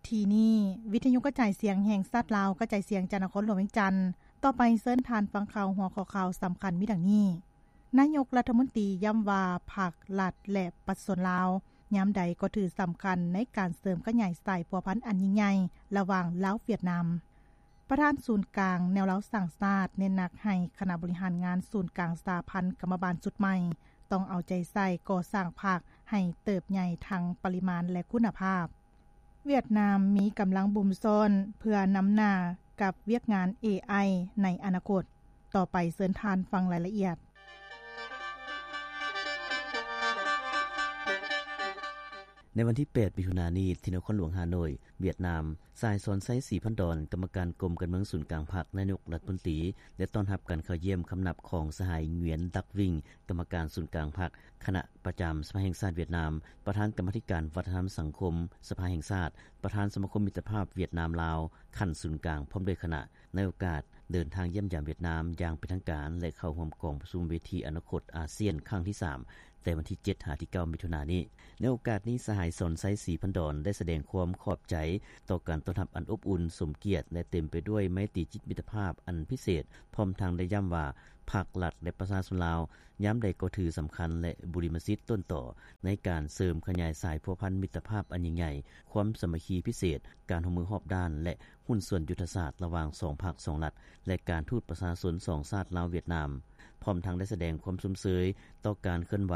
ທີ່ນີ້ ວິທະຍຸກະຈາຍສຽງແຫ່ງຊາດລາວ ກະຈາຍສຽງຈາກນະຄອນຫຼວງວຽງຈັນ. ຕໍ່ໄປເຊີນທ່ານຟັງຂ່າວ ຫົວຂໍ້ຂ່າວສຳຄັນມີດັ່ງນີ້: ນາຍົກລັດຖະມົນຕີຢ້ຳວ່າ ພັກລັດ ແລະ ປະຊາຊົນລາວ ຍາມໃດກໍຖືສຳຄັນໃນການເສີມຂະຫຍາຍສາຍພົວພັນອັນຍິ່ງໃຫຍ່ລະຫວ່າງລາວ-ຫວຽດນາມ. ປະທານສູນກາງແນວລາວສ້າງຊາດ ເນັ້ນໜັກໃຫ້ຄະນະບໍລິຫານງານສູນກາງສະຫະພັນກຳມະບານຊຸດໃໝ່ ຕ້ອງເອົາໃຈໃສ່ກໍ່ສ້າງພັກໃຫ້ເຕີບໃຫຍ່ທັງປະລິມານ ແລະ ຄຸນນະພາບ. ຫວຽດນາມມີກຳລັງບຸມຊ້ອນເພື່ອນຳໜ້າກັບວຽກງານເອໄອໃນອະນາຄົດ. ຕໍ່ໄປເຊີນທ່ານຟັງລາຍລະອຽດ. ໃນວັນທີແປດ ມິຖຸນານີ້ ທີ່ນະຄອນຫຼວງຮ່າໂນ້ຍ ຫວຽດນາມ, ສະຫາຍ ສອນໄຊ ສີພັນດອນ ກຳມະການກົມການເມືອງສູນກາງພັກ, ນາຍົກລັດຖະມົນຕີ ໄດ້ຕ້ອນຮັບການເຂົ້າຢ້ຽມຄຳນັບຂອງສະຫາຍ ຫງວຽນ ດັກວິງ ກຳມະການສູນກາງພັກ, ຄະນະປະຈຳສະພາແຫ່ງຊາດຫວຽດນາມ, ປະທານກຳມາທິການວັດທະນະທຳສັງຄົມສະພາແຫ່ງຊາດ, ປະທານສະມາຄົມມິດຕະພາບຫວຽດນາມ-ລາວ ຂັ້ນສູນກາງ ພ້ອມດ້ວຍຄະນະ. ໃນໂອກາດເດີນທາງຢ້ຽມຢາມຫວຽດນາມຢ່າງເປັນທາງການ ແລະ ເຂົ້າຮ່ວມກອງປະຊຸມເວທີອະນາຄົດອາຊຽນຄັ້ງທີສາມ ແຕ່ວັນທີເຈັດ ຫາ ທີເກົ້າ ມິຖຸນານີ້. ໃນໂອກາດນີ້ ສະຫາຍ ສອນໄຊ ສີພັນດອນ ໄດ້ສະແດງຄວາມຂອບໃຈຕໍ່ການຕ້ອນຮັບອັນອົບອຸ່ນ, ສົມກຽດ ແລະ ເຕັມໄປດ້ວຍໄມຕີຈິດມິດຕະພາບອັນພິເສດ, ພ້ອມທັງໄດ້ຢ້ຳວ່າ ພັກລັດ ແລະ ປະຊາຊົນລາວ ຍາມໃດກໍຖືສຳຄັນ ແລະ ບຸລິມະສິດຕົ້ນຕໍໃນການເສີມຂະຫຍາຍສາຍພົວພັນມິດຕະພາບອັນຍິ່ງໃຫຍ່, ຄວາມສາມັກຄີພິເສດ, ການຮ່ວມມືຮອບດ້ານ ແລະ ຫຸ້ນສ່ວນຍຸດທະສາດລະຫວ່າງສອງພັກສອງລັດ ແລະ ການທູດປະຊາຊົນສອງຊາດລາວ-ຫວຽດນາມ, ພ້ອມທັງໄດ້ສະແດງຄວາມຊົມເຊີຍຕໍ່ການເຄື່ອນໄຫວ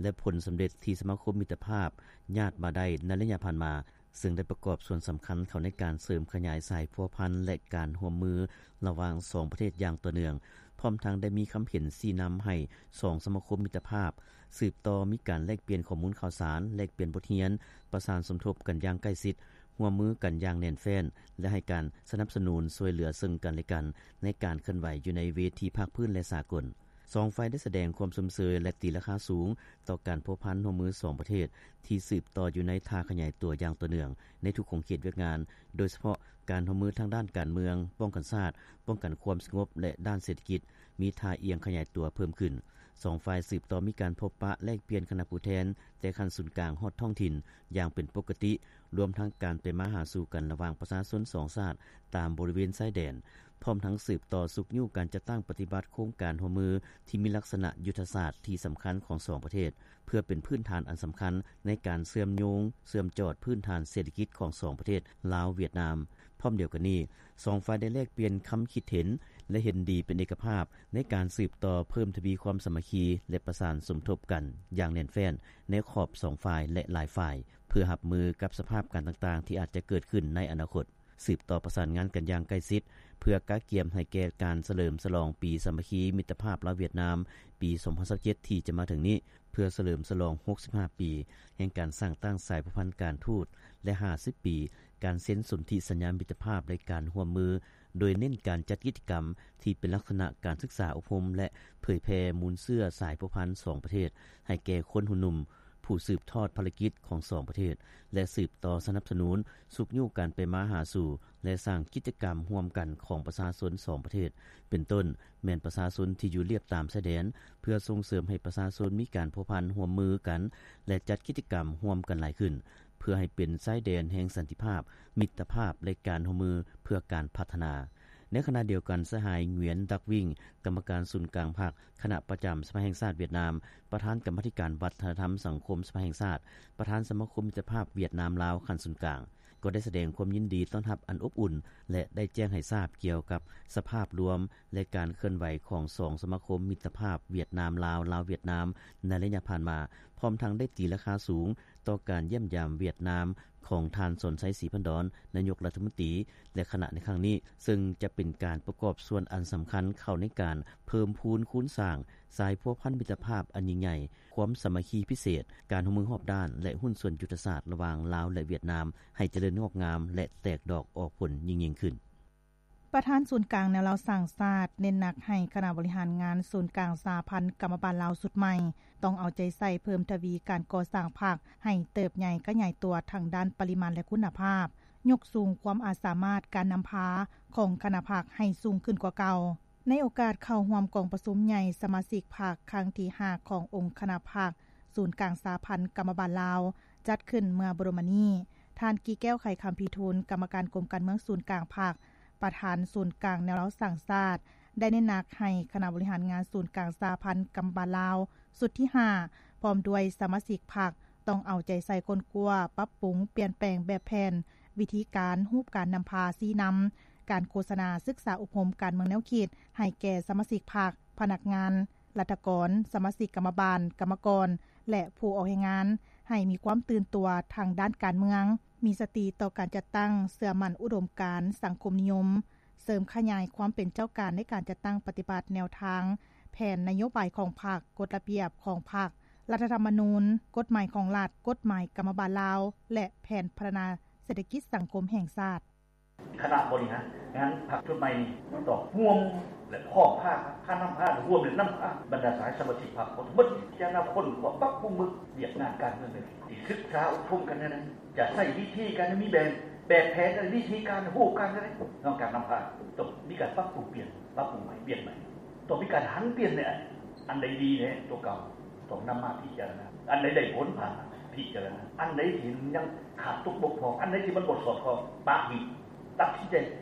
ແລະ ຜົນສຳເລັດທີ່ສະມາຄົມມິດຕະພາບຍາດມາໄດ້ໃນໄລຍະຜ່ານມາ, ເຊິ່ງໄດ້ປະກອບສ່ວນສຳຄັນເຂົ້າໃນການເສີມຂະຫຍາຍສາຍພົວພັນ ແລະ ການຮ່ວມມືລະຫວ່າງສອງປະເທດຢ່າງຕໍ່ເນື່ອງ, ພ້ອມທັງໄດ້ມີຄຳເຫັນຊີ້ນຳໃຫ້ສອງສະມາຄົມມິດຕະພາບສືບຕໍ່ມີການແລກປ່ຽນຂໍ້ມູນຂ່າວສານ, ແລກປ່ຽນບົດຮຽນ, ປະສານສົມທົບກັນຢ່າງໃກ້ຊິດ, ຮ່ວມມືກັນຢ່າງແໜ້ນແຟ້ນ ແລະ ໃຫ້ການສະໜັບສະໜູນຊ່ວຍເຫຼືອເຊິ່ງກັນແລະກັນໃນການເຄື່ອນໄຫວຢູ່ໃນເວທີພາກພື້ນ ແລະ ສາກົນ. ສອງຝ່າຍໄດ້ສະແດງຄວາມຊົມເຊີຍ ແລະ ຕີລາຄາສູງຕໍ່ການພົວພັນຮ່ວມມືສອງປະເທດ ທີ່ສືບຕໍ່ຢູ່ໃນທ່າຂະຫຍາຍຕົວຢ່າງຕໍ່ເນື່ອງໃນທຸກຂົງເຂດວຽກງານ, ໂດຍສະເພາະການຮ່ວມມືທາງດ້ານການເມືອງ, ປ້ອງກັນຊາດ, ປ້ອງກັນຄວາມສະຫງົບ ແລະ ດ້ານເສດຖະກິດ ມີທ່າອ່ຽງຂະຫຍາຍຕົວເພີ່ມຂຶ້ນ. ສອງຝ່າຍສືບຕໍ່ມີການພົບປະແລກປ່ຽນຄະນະຜູ້ແທນ ແຕ່ຂັ້ນສູນກາງຮອດທ້ອງຖິ່ນຢ່າງເປັນປົກກະຕິ, ລວມທັງການໄປມາຫາສູ່ກັນລະຫວ່າງປະຊາຊົນສອງຊາດຕາມບໍລິເວນຊາຍແດນ, ພ້ອມທັງສືບຕໍ່ຊຸກຍູ້ການຈັດຕັ້ງປະຕິບັດໂຄງການຮ່ວມມືທີ່ມີລັກສະນະຍຸດທະສາດທີ່ສຳຄັນຂອງສອງປະເທດ, ເພື່ອເປັນພື້ນຖານອັນສຳຄັນໃນການເຊື່ອມໂຍງ, ເຊື່ອມຈອດພື້ນຖານເສດຖະກິດຂອງສອງປະເທດລາວ-ຫວຽດນາມ. ພ້ອມດຽວກັນນີ້, ສອງຝ່າຍໄດ້ແລກປ່ຽນຄຳຄິດເຫັນ ແລະ ເຫັນດີເປັນເອກະພາບໃນການສືບຕໍ່ເພີ່ມທະວີຄວາມສາມັກຄີ ແລະ ປະສານສົມທົບກັນຢ່າງແໜ້ນແຟ້ນໃນຂອບສອງຝ່າຍ ແລະ ຫຼາຍຝ່າຍ, ເພື່ອຮັບມືກັບສະພາບການຕ່າງໆທີ່ອາດຈະເກີດຂຶ້ນໃນອະນາຄົດ. ສືບຕໍ່ປະສານງານກັນຢ່າງໃກ້ຊິດ ເພື່ອກະກຽມໃຫ້ແກ່ການສະເຫຼີມສະຫຼອງປີສາມັກຄີມິດຕະພາບລາວ-ຫວຽດນາມ ປີສອງພັນຊາວເຈັດ ທີ່ຈະມາເຖິງນີ້, ເພື່ອສະເຫຼີມສະຫຼອງຫົກສິບຫ້າປີແຫ່ງການສ້າງຕັ້ງສາຍພົວພັນການທູດ ແລະ ຫ້າສິບປີການເຊັນສົນທິສັນຍາມິດຕະພາບ ແລະ ການຮ່ວມມື, ໂດຍເນັ້ນການຈັດກິດຈະກຳທີ່ເປັນລັກສະນະການສຶກສາອົບຮົມ ແລະ ເຜີຍແຜ່ມູນເຊື້ອສາຍພົວພັນສອງປະເທດ ໃຫ້ແກ່ຄົນຮຸ່ນໜຸ່ມ ຜູ້ສືບທອດພາລະກິດຂອງສອງປະເທດ ແລະ ສືບຕໍ່ສະໜັບສະໜູນ, ຊຸກຍູ້ການໄປມາຫາສູ່ ແລະ ສ້າງກິດຈະກຳຮ່ວມກັນຂອງປະຊາຊົນສອງປະເທດ, ເປັນຕົ້ນແມ່ນປະຊາຊົນທີ່ຢູ່ລຽບຕາມຊາຍແດນ, ເພື່ອສົ່ງເສີມໃຫ້ປະຊາຊົນມີການພົວພັນຮ່ວມມືກັນ ແລະ ຈັດກິດຈະກຳຮ່ວມກັນຫຼາຍຂຶ້ນ, ເພື່ອໃຫ້ເປັນຊາຍແດນແຫ່ງສັນຕິພາບ, ມິດຕະພາບ ແລະ ການຮ່ວມມືເພື່ອການພັດທະນາ. ໃນຂະນະດຽວກັນ, ສະຫາຍ ຫງວຽນ ດັກວິງ ກຳມະການສູນກາງພັກ, ຄະນະປະຈຳສະພາແຫ່ງຊາດຫວຽດນາມ, ປະທານກຳມາທິການວັດທະນະທຳສັງຄົມສະພາແຫ່ງຊາດ, ປະທານສະມາຄົມມິດຕະພາບຫວຽດນາມ-ລາວຂັ້ນສູນກາງ, ກໍໄດ້ສະແດງຄວາມຍິນດີຕ້ອນຮັບອັນອົບອຸ່ນ ແລະ ໄດ້ແຈ້ງໃຫ້ຊາບກ່ຽວກັບສະພາບລວມ ແລະ ການເຄື່ອນໄຫວຂອງສອງສະມາຄົມມິດຕະພາບຫວຽດນາມ-ລາວ, ລາວ-ຫວຽດນາມ ໃນໄລຍະຜ່ານມາ, ພ້ອມທັງໄດ້ຕີລາຄາສູງຕໍ່ການຢ້ຽມຢາມຫວຽດນາມຂອງທ່ານ ສອນໄຊ ສີພັນດອນ ນາຍົກລັດຖະມົນຕີ ແລະ ຄະນະໃນຄັ້ງນີ້, ເຊິ່ງຈະເປັນການປະກອບສ່ວນອັນສຳຄັນເຂົ້າໃນການເພີ່ມພູນຄູນສ້າງ ສາຍພົວພັນມິດຕະພາບອັນຍິ່ງໃຫຍ່, ຄວາມສາມັກຄີພິເສດ, ການຮ່ວມມືຮອບດ້ານ ແລະ ຫຸ້ນສ່ວນຍຸດທະສາດລະຫວ່າງລາວ ແລະ ຫວຽດນາມ ໃຫ້ຈະເລີນງອກງາມ ແລະ ແຕກດອກອອກຜົນຍິ່ງໆຂຶ້ນ. ປະທານສູນກາງແນວລາວສ້າງຊາດ ເນັ້ນໜັກໃຫ້ຄະນະບໍລິຫານງານສູນກາງສະຫະພັນກຳມະບານລາວຊຸດໃໝ່ ຕ້ອງເອົາໃຈໃສ່ເພີ່ມທະວີການກໍ່ສ້າງພັກໃຫ້ເຕີບໃຫຍ່ຂະຫຍາຍຕົວທັງດ້ານປະລິມານ ແລະ ຄຸນນະພາບ, ຍົກສູງຄວາມອາດສາມາດການນຳພາຂອງຄະນະພັກໃຫ້ສູງຂຶ້ນກວ່າເກົ່າ. ໃນໂອກາດເຂົ້າຮ່ວມກອງປະຊຸມໃຫຍ່ສະມາຊິກພັກຄັ້ງທີຫ້າຂອງອົງຄະນະພັກສູນກາງສະຫະພັນກຳມະບານລາວ ຈັດຂຶ້ນເມື່ອບໍ່ດົນມານີ້, ທ່ານ ກີແກ້ວ ໄຂຄຳພິທູນ ກຳມະການກົມການເມືອງສູນກາງພັກ ປະທານສູນກາງແນວລາວສ້າງຊາດ ໄດ້ເນັ້ນໜັກໃຫ້ຄະນະບໍລິຫານງານສູນກາງສະຫະພັນກຳມະບານລາວຊຸດທີຫ້າ ພ້ອມດ້ວຍສະມາຊິກພັກ ຕ້ອງເອົາໃຈໃສ່ຄົ້ນຄວ້າ, ປັບປຸງ, ປ່ຽນແປງແບບແຜນ, ວິທີການ, ຮູບການນຳພາຊີ້ນຳ, ການໂຄສະນາ, ສຶກສາອົບຮົມການເມືອງແນວຄິດ ໃຫ້ແກ່ສະມາຊິກພັກ, ພະນັກງານ, ລັດຖະກອນ, ສະມາຊິກກຳມະບານ, ກຳມະກອນ ແລະ ຜູ້ອອກແຮງງານ ໃຫ້ມີຄວາມຕື່ນຕົວທາງດ້ານການເມືອງ, ມີສະຕິຕໍ່ການຈັດຕັ້ງ, ເຊື່ອໝັ້ນອຸດົມການສັງຄົມນິຍົມ, ເສີມຂະຫຍາຍຄວາມເປັນເຈົ້າການໃນການຈັດຕັ້ງປະຕິບັດແນວທາງ, ແຜນນະໂຍບາຍຂອງພັກ, ກົດລະບຽບຂອງພັກ, ລັດຖະທຳມະນູນ, ກົດໝາຍຂອງລັດ, ກົດໝາຍກຳມະບານລາວ ແລະ ແຜນພັດທະນາເສດຖະກິດສັງຄົມແຫ່ງຊາດ. ຄະນະບໍລິຫານງານພັກຊຸດໃໝ່ນີ້ ຕ້ອງຮ່ວມ ແລະ ພ້ອມພາ ພານຳພາ ຮ່ວມ ແລະ ນຳພາບັນດາສາຍສະມາຊິກພັກທັງໝົດ ພິຈາລະນາຄົ້ນຄວ້າ ປັບປຸງເບິ່ງວຽກງານການເມືອງໃດ ຊິສຶກສາອົບຮົມກັນແນວໃດ ຈະໃຊ້ວິທີການ ມີແບບ ແບບແຜນ ແລະ ວິທີການ ຮູບການແນວໃດ ເນາະ ການນຳພາ ຕ້ອງມີການປັບປຸງປ່ຽນ ປັບປຸງໃໝ່ ປ່ຽນໃໝ່ ຕ້ອງມີການຫັນປ່ຽນໃນອັນໃດດີແດ່ຕົວເກົ່າ ຕ້ອງນຳມາພິຈາລະນາ ອັນໃດໄດ້ຜົນຜ່ານ ພິຈາລະນາ ອັນໃດທີ່ຍັງຂາດຕົກບົກຜ່ອງ ອັນໃດທີ່ມັນບໍ່ສອດຄ່ອງ ປະຖິ້ມ ຕັດສິນໃຈ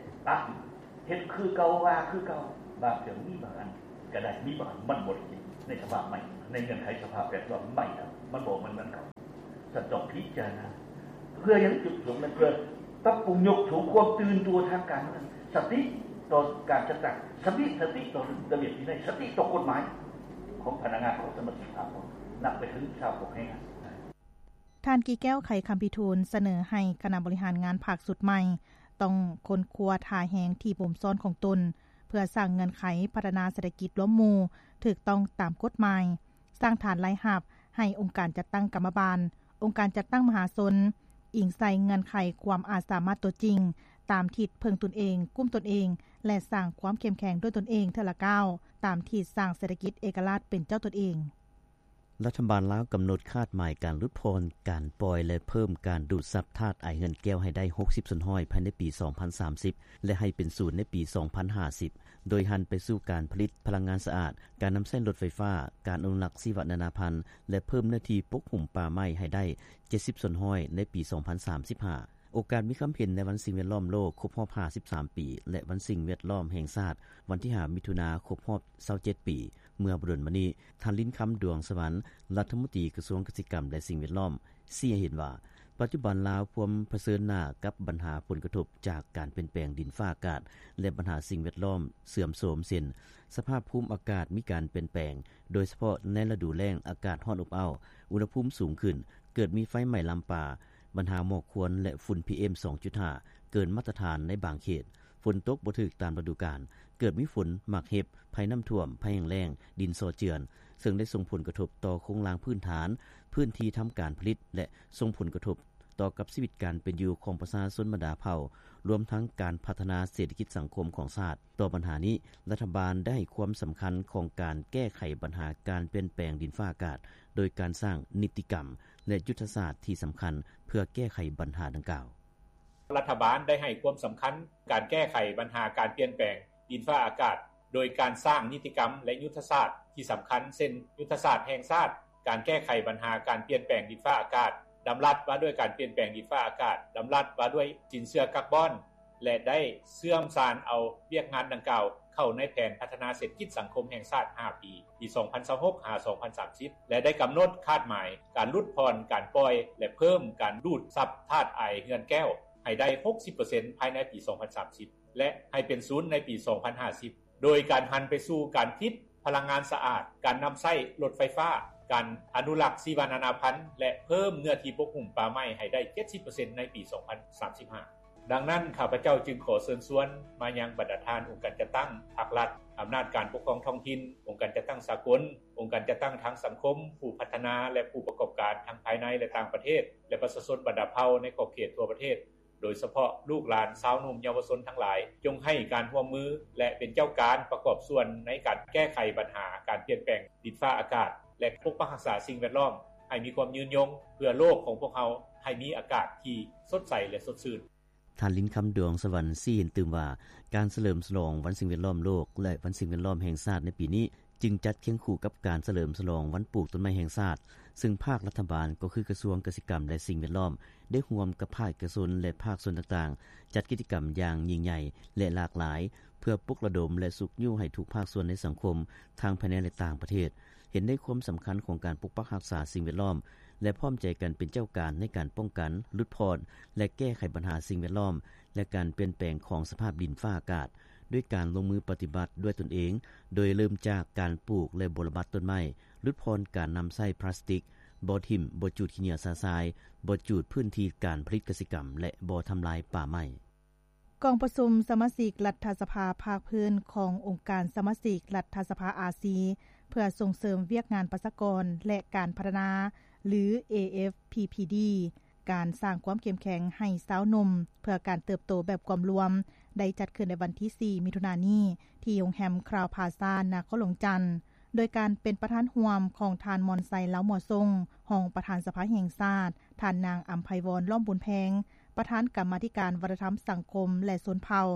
ປະຖິ້ມ ເຮັດຄືເກົ່າ ວ່າຄືເກົ່າ ບາງເທື່ອມີບາງອັນກໍໄດ້ ມີບາງອັນມັນບໍ່ໄດ້ ໃນສະພາບໃໝ່ ໃນເງື່ອນໄຂສະພາບແວດລ້ອມໃໝ່ ມັນບໍ່ແມ່ນເກົ່າ ສັນຕ້ອງພິຈາລະນາ ເພື່ອຫຍັງ? ຈຸດປະສົງນັ້ນ ເພື່ອປັບປຸງຍົກສູງຄວາມຕື່ນຕົວທາງການເມືອງ ສະຕິຕໍ່ການຈັດຕັ້ງ ສະຕິ ສະຕິຕໍ່ລະບຽບວິໄນ ສະຕິຕໍ່ກົດໝາຍຂອງພະນັກງານ ຂອງສະມາຊິກພັກ ນັບໄປເຖິງຊາວພວກແຮງງານ. ທ່ານ ກີແກ້ວ ໄຂຄຳພິທູນ ສະເໜີໃຫ້ຄະນະບໍລິຫານງານພັກຊຸດໃໝ່ ຕ້ອງຄົ້ນຄວ້າທ່າແຮງທີ່ບົ່ມຊ້ອນຂອງຕົນ ເພື່ອສ້າງເງື່ອນໄຂພັດທະນາເສດຖະກິດລວມໝູ່ຖືກຕ້ອງຕາມກົດໝາຍ, ສ້າງຖານລາຍຮັບໃຫ້ອົງການຈັດຕັ້ງກຳມະບານ, ອົງການຈັດຕັ້ງມະຫາຊົນ, ອີງໃສ່ເງື່ອນໄຂຄວາມອາດສາມາດຕົວຈິງ, ຕາມທິດເພິ່ງຕົນເອງ, ກຸ້ມຕົນເອງ ແລະ ສ້າງຄວາມເຂັ້ມແຂງດ້ວຍຕົນເອງເທື່ອລະກ້າວ, ຕາມທິດສ້າງເສດຖະກິດເອກະລາດເປັນເຈົ້າຕົນເອງ. ລັດຖະບານລາວກຳນົດຄາດໝາຍການຫຼຸດຜ່ອນ, ການປ່ອຍ ແລະ ເພີ່ມການດູດຊັບທາດອາຍເຮືອນແກ້ວໃຫ້ໄດ້ຫົກສິບສ່ວນຮ້ອຍພາຍໃນປີສອງພັນສາມສິບ ແລະ ໃຫ້ເປັນສູນໃນປີສອງພັນຫ້າສິບ ໂດຍຫັນໄປສູ່ການຜະລິດພະລັງງານສະອາດ, ການນຳໃຊ້ລົດໄຟຟ້າ, ການອະນຸລັກຊີວະນານາພັນ ແລະ ເພີ່ມເນື້ອທີ່ປົກຫຸ້ມປ່າໄມ້ໃຫ້ໄດ້ເຈັດສິບສ່ວນຮ້ອຍໃນປີສອງພັນສາມສິບຫ້າ. ໂອກາດມີຄຳເຫັນໃນວັນສິ່ງແວດລ້ອມໂລກຄົບຮອບຫ້າສິບສາມປີ ແລະ ວັນສິ່ງແວດລ້ອມແຫ່ງຊາດ ວັນທີຫ້າ ມິຖຸນາ ຄົບຮອບຊາວເຈັດປີ ເມື່ອບໍ່ດົນມານີ້, ທ່ານ ລິນຄຳ ດວງສະຫວັນ ລັດຖະມົນຕີກະຊວງກະສິກຳ ແລະ ສິ່ງແວດລ້ອມ ຊີ້ໃຫ້ເຫັນວ່າ ປັດຈຸບັນລາວພວມຜະເຊີນໜ້າກັບບັນຫາຜົນກະທົບຈາກການປ່ຽນແປງດິນຟ້າອາກາດ ແລະ ບັນຫາສິ່ງແວດລ້ອມເສື່ອມໂຊມ ເຊັ່ນ ສະພາບພູມອາກາດມີການປ່ຽນແປງ, ໂດຍສະເພາະໃນລະດູແລ້ງອາກາດຮ້ອນອົບເອົ້າ, ອຸນຫະພູມສູງຂຶ້ນ, ເກີດມີໄຟໄໝ້ລາມປ່າ, ບັນຫາໝອກຄວັນ ແລະ ຝຸ່ນ ພີເອັມ ສອງຈຸດຫ້າ ເກີນມາດຕະຖານໃນບາງເຂດ, ຝົນຕົກບໍ່ຖືກຕາມລະດູການ, ເກີດມີຝົນໝາກເຫັບ, ໄພນ້ຳຖ້ວມ, ໄພແຫ້ງແລ້ງ, ດິນສໍເຈື່ອນ, ເຊິ່ງໄດ້ສົ່ງຜົນກະທົບຕໍ່ໂຄງລ່າງພື້ນຖານ, ພື້ນທີ່ທຳການຜະລິດ ແລະ ສົ່ງຜົນກະທົບຕໍ່ກັບຊີວິດການເປັນຢູ່ຂອງປະຊາຊົນບັນດາເຜົ່າ, ລວມທັງການພັດທະນາເສດຖະກິດສັງຄົມຂອງຊາດ. ຕໍ່ບັນຫານີ້, ລັດຖະບານໄດ້ໃຫ້ຄວາມສຳຄັນຂອງການແກ້ໄຂບັນຫາການປ່ຽນແປງດິນຟ້າອາກາດ ໂດຍການສ້າງນິຕິກຳ ແລະ ຍຸດທະສາດທີ່ສຳຄັນເພື່ອແກ້ໄຂບັນຫາດັ່ງກ່າວ. ລັດຖະບານໄດ້ໃຫ້ຄວາມສຳຄັນການແກ້ໄຂບັນຫາການປ່ຽນແປງດິນຟ້າອາກາດ ໂດຍການສ້າງນິຕິກຳ ແລະ ຍຸດທະສາດທີ່ສຳຄັນ ເຊັ່ນ ຍຸດທະສາດແຫ່ງຊາດການແກ້ໄຂບັນຫາການປ່ຽນແປງດິນຟ້າອາກາດ, ດຳລັດວ່າດ້ວຍການປ່ຽນແປງດິນຟ້າອາກາດ, ດຳລັດວ່າດ້ວຍສິນເຊື່ອກາບອນ ແລະ ໄດ້ເຊື່ອມສານເອົາວຽກງານດັ່ງກ່າວເຂົ້າໃນແຜນພັດທະນາເສດຖະກິດສັງຄົມແຫ່ງຊາດຫ້າປີ ປີສອງພັນຊາວຫົກ ຫາ ສອງພັນສາມສິບ ແລະ ໄດ້ກຳນົດຄາດໝາຍການຫຼຸດຜ່ອນ, ການປ່ອຍ ແລະ ເພີ່ມການດູດຊັບທາດອາຍເຮືອນແກ້ວໃຫ້ໄດ້ຫົກສິບເປີເຊັນພາຍໃນປີສອງພັນສາມສິບ ແລະ ໃຫ້ເປັນສູນໃນປີສອງພັນຫ້າສິບ ໂດຍການຫັນໄປສູ່ການຜະລິດພະລັງງານສະອາດ, ການນຳໃຊ້ລົດໄຟຟ້າ, ການອະນຸລັກຊີວະນານາພັນ ແລະ ເພີ່ມເນື້ອທີ່ປົກຫຸ້ມປ່າໄມ້ໃຫ້ໄດ້ເຈັດສິບເປີເຊັນໃນປີສອງພັນສາມສິບຫ້າ. ດັ່ງນັ້ນ, ຂ້າພະເຈົ້າຈຶ່ງຂໍເຊີນຊວນມາຍັງບັນດາທ່ານອົງການຈັດຕັ້ງພາກລັດ, ອຳນາດການປົກຄອງທ້ອງຖິ່ນ, ອົງການຈັດຕັ້ງສາກົນ, ອົງການຈັດຕັ້ງທາງສັງຄົມ, ຜູ້ພັດທະນາ ແລະ ຜູ້ປະກອບການທັງພາຍໃນ ແລະ ຕ່າງປະເທດ ແລະ ປະຊາຊົນບັນດາເຜົ່າໃນຂອບເຂດທົ່ວປະເທດ, ໂດຍສະເພາະລູກຫຼານຊາວໜຸ່ມເຍົາວະຊົນທັງຫຼາຍ, ຈົ່ງໃຫ້ການຮ່ວມມື ແລະ ເປັນເຈົ້າການປະກອບສ່ວນໃນການແກ້ໄຂບັນຫາການປ່ຽນແປງດິນຟ້າອາກາດ ແລະ ປົກປັກຮັກສາສິ່ງແວດລ້ອມໃຫ້ມີຄວາມຍືນຍົງ ເພື່ອໂລກຂອງພວກເຮົາໃຫ້ມີອາກາດທີ່ສົດໃສ ແລະ ສົດຊື່ນ. ທ່ານ ລິນຄຳ ດວງສະຫວັນ ຊີ້ເຫັນຕື່ມວ່າ ການສະເຫຼີມສະຫຼອງວັນສິ່ງແວດລ້ອມໂລກ ແລະ ວັນສິ່ງແວດລ້ອມແຫ່ງຊາດໃນປີນີ້ ຈຶ່ງຈັດຄຽງຄູ່ກັບການສະເຫຼີມສະຫຼອງວັນປູກຕົ້ນໄມ້ແຫ່ງຊາດ ຊຶ່ງພາກລັດຖະບານ ກໍຄືກະຊວງກະສິກຳ ແລະ ສິ່ງແວດລ້ອມ ໄດ້ຮ່ວມກັບພາກເອກະຊົນ ແລະ ພາກສ່ວນຕ່າງໆ ຈັດກິດຈະກຳຢ່າງຍິ່ງໃຫຍ່ ແລະ ຫຼາກຫຼາຍ ເພື່ອປຸກລະດົມ ແລະ ຊຸກຍູ້ໃຫ້ທຸກພາກສ່ວນໃນສັງຄົມ ທັງພາຍໃນ ແລະ ຕ່າງປະເທດ ເຫັນໃນຄວາມສຳຄັນຂອງການປົກປັກຮັກສາສິ່ງແວດລ້ອມ ແລະ ພ້ອມໃຈກັນເປັນເຈົ້າການໃນການປ້ອງກັນ, ຫຼຸດຜ່ອນ ແລະ ແກ້ໄຂບັນຫາສິ່ງແວດລ້ອມ ແລະ ການປ່ຽນແປງຂອງສະພາບດິນຟ້າອາກາດ ດ້ວຍການລົງມືປະຕິບັດດ້ວຍຕົນເອງ ໂດຍເລີ່ມຈາກການປູກ ແລະ ບົວລະບັດຕົ້ນໄມ້, ຫຼຸດຜ່ອນການນຳໃຊ້ພລາສຕິກ, ບໍ່ຖິ້ມ, ບໍ່ຈູດຂີ້ເຫຍື້ອຊະຊາຍ, ບໍ່ຈູດພື້ນທີ່ການຜະລິດກະສິກຳ ແລະ ບໍ່ທຳລາຍປ່າໄມ້. ກອງປະຊຸມສະມາຊິກລັດຖະສະພາພາກພື້ນຂອງອົງການສະມາຊິກລັດຖະສະພາອາຊີ ເພື່ອສົ່ງເສີມວຽກງານປະຊາກອນ ແລະ ການພັດທະນາ ຫຼື ເອເອັຟພີພີດີ ການສ້າງຄວາມເຂັ້ມແຂງໃຫ້ຊາວໜຸ່ມ ເພື່ອການເຕີບໂຕແບບກວມລວມ ໄດ້ຈັດຂຶ້ນໃນວັນທີສີ່ ມິຖຸນານີ້ ທີ່ໂຮງແຮມຄຣາວພາຊາ ນະຄອນຫຼວງຈັນ ໂດຍການເປັນປະທານຮ່ວມຂອງທ່ານ ມອນໄຊ ເລົາມົວຊົງ ຮອງປະທານສະພາແຫ່ງຊາດ, ທ່ານນາງ ອຳໄພວອນ ລ້ອມບຸນແພງ ປະທານກຳມາທິການວັດທະນະທຳ, ສັງຄົມ ແລະ ຊົນເຜົ່າ,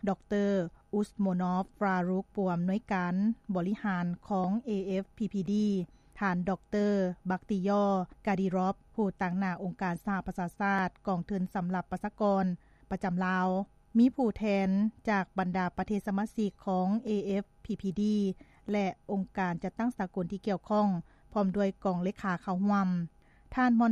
ດອກເຕີ ອຸສໂມນອຟ ຟຣາຣຸກ ຜູ້ອຳນວຍການບໍລິຫານຂອງ ເອເອັຟພີພີດີ, ທ່ານ ດອກເຕີ ບັກຕິຢໍ ກາດີຣອບ ຜູ້ຕາງໜ້າອົງການສະຫະປະຊາຊາດ ກອງທຶນສຳລັບປະຊາກອນປະຈຳລາວ, ມີຜູ້ແທນຈາກບັນດາປະເທດສະມາຊິກຂອງ ເອເອັຟພີພີດີ ແລະ ອົງການຈັດຕັ້ງສາກົນທີ່ກ່ຽວຂ້ອງ ພ້ອມດ້ວຍກອງເລຂາເຂົ້າຮ່ວມ. ທ່ານ ມອນ